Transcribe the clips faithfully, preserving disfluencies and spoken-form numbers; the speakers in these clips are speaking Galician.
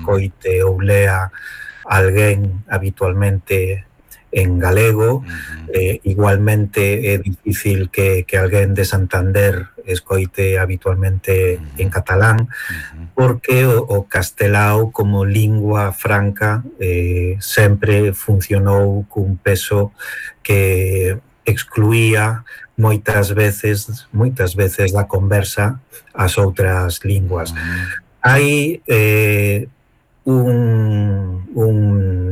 escoite ou lea alguén habitualmente en galego. Uh-huh. eh, igualmente é difícil que, que alguén de Santander escoite habitualmente uh-huh. en catalán, uh-huh. porque o, o castelao como lingua franca eh, sempre funcionou cun peso que excluía moitas veces moitas veces da conversa as outras linguas. Uh-huh. Hai eh, un, un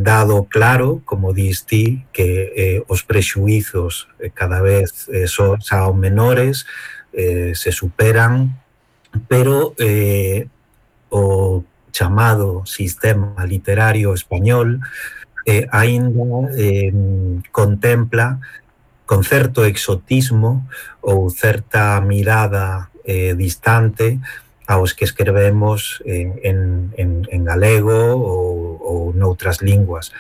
dado claro, como dis ti, que eh, os prexuizos eh, cada vez eh, son, son menores, eh, se superan, pero eh, o chamado sistema literario español eh, aínda eh, contempla con certo exotismo ou certa mirada eh, distante aos que escrevemos en, en, en, en galego ou, ou noutras linguas.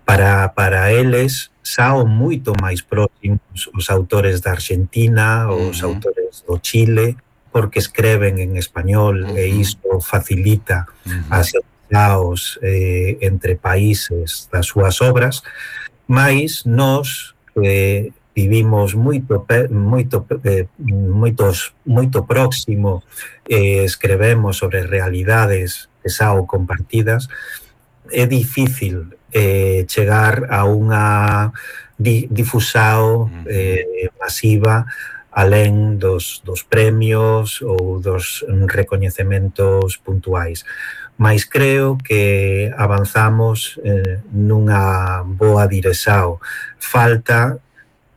Para, para eles, sao moito máis próximos os autores da Argentina, os uh-huh. autores do Chile, porque escreven en español, uh-huh. e isto facilita uh-huh. as relacións eh, entre países das súas obras, mas nós eh, vivimos moito moito eh, moitos moito próximo, eh, escrevemos sobre realidades que sao compartidas. É difícil eh, chegar a unha di, difusao eh, masiva alén dos, dos premios ou dos recoñecementos puntuais. Mais creo que avanzamos eh, nunha boa dirección. Falta,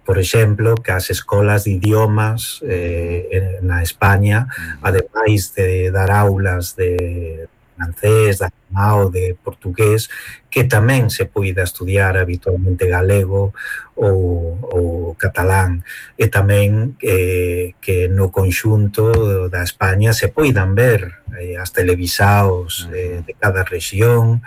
por exemplo, que as escolas de idiomas eh, na España, ademais de dar aulas de francés, de alemán, de portugués, que tamén se poida estudiar habitualmente galego ou, ou catalán, e tamén eh, que no conxunto da España se poidan ver eh, as televisaos eh, de cada rexión,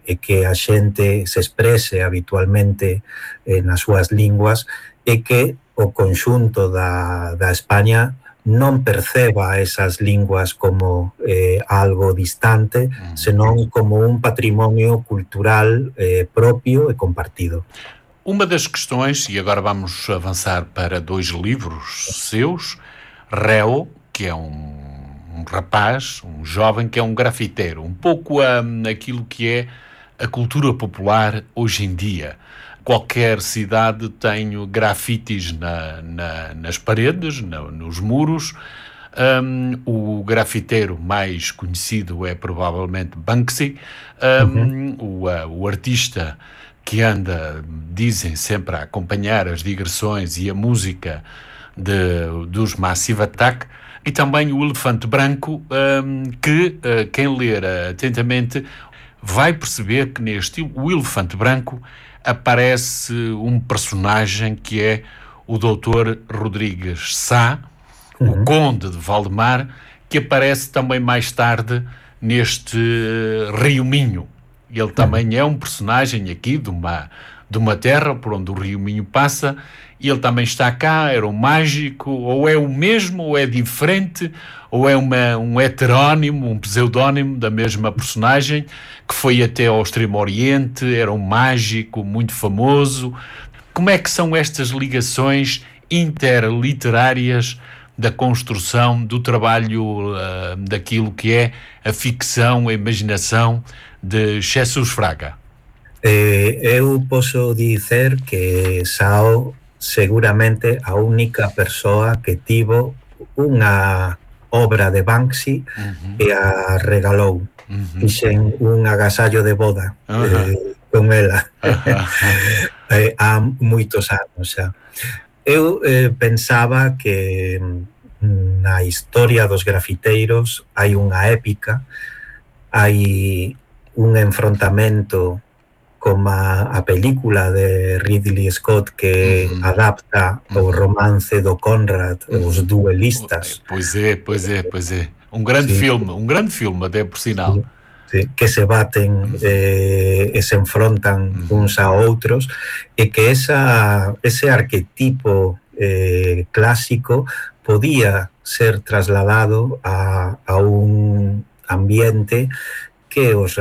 e que a xente se exprese habitualmente eh, nas súas linguas, e que o conxunto da, da España non perceba esas linguas como eh, algo distante, senón como un patrimonio cultural eh, propio e compartido. Uma das questões, e agora vamos avançar para dois livros seus, Réu, que é um, um rapaz, um jovem que é um grafiteiro, um pouco um, aquilo que é a cultura popular hoje em dia. Qualquer cidade tem grafites na, na, nas paredes, na, nos muros. Um, o grafiteiro mais conhecido é provavelmente Banksy. Um, uhum. o, uh, o artista que anda, dizem, sempre a acompanhar as digressões e a música de, dos Massive Attack. E também o Elefante Branco, um, que uh, quem ler atentamente vai perceber que neste O Elefante Branco aparece um personagem que é o doutor Rodrigues Sá, uhum. o Conde de Valdemar, que aparece também mais tarde neste Rio Minho. Ele também é um personagem aqui de uma, de uma terra por onde o Rio Minho passa, e ele também está cá, era um mágico, ou é o mesmo, ou é diferente, ou é uma, um heterónimo, um pseudónimo da mesma personagem, que foi até ao Extremo Oriente, era um mágico muito famoso. Como é que são estas ligações interliterárias da construção do trabalho uh, daquilo que é a ficção, a imaginação de Jesus Fraga? Eh, eu posso dizer que Sao seguramente a única persoa que tivo unha obra de Banksy uh-huh. e a regalou. Uh-huh. Fixen un agasallo de boda uh-huh. eh, con ela uh-huh. eh, há moitos anos xa. Eu eh, pensaba que na historia dos grafiteiros hai unha épica, hai un enfrontamento como a, a película de Ridley Scott que uh-huh. adapta o romance do Conrad, uh-huh. os duelistas. Pois é, pois é, pois é. Um grande sí. filme, um grande filme até por sinal. Sí, sí, que se baten uh-huh. eh, e se enfrontan uh-huh. uns a outros, e que esa, ese arquetipo eh, clásico podía ser trasladado a, a un ambiente que os